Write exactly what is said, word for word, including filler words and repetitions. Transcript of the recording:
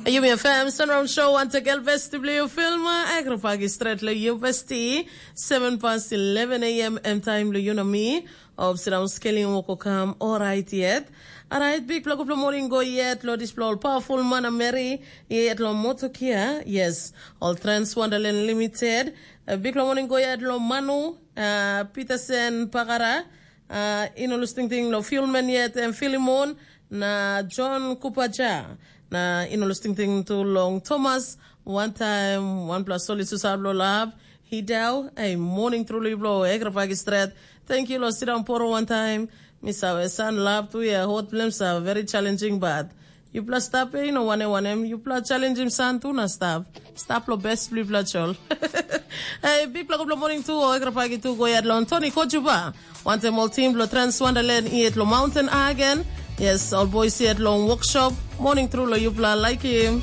Yumi F M Sunround Show wantakel besti bilong yu filma agrafagi stret lo yu besti seven past eleven a m em taim lo yu na mi. Of sidang skelim woko kam orait yet. Alright, bikpela gutpela morning go yet lo dispela ol powerful man na Mary yet lo Motokia. Yes, ol Trans Wonderland Limited. Uh, bikpela morning go yet lo Manu, uh, Peterson Pagara. Uh, ino lus tingting lo Filmen yet em Filimon na John Kupaja. Na ino lus tingting tu long Thomas. One time, one plus soli susar lo lab. Hidau, ei, morning truly blo, egrafagi stret. Thank you lo sidang poro one time. Misawe san lab tu ya hot blem sa very challenging bad. Yupela stap e, no wane wanem, yupela challenging san tu na stap. Stap lo best blipela chol. Hey, bikpela gutpela morning tu, o egrafagi tu go yat long Tony Kojuba. Wantem ol team lo Trans Wonderland iet lo Mountain Agen. Yes, ol boys iet long workshop. Morning through lo yupela like him.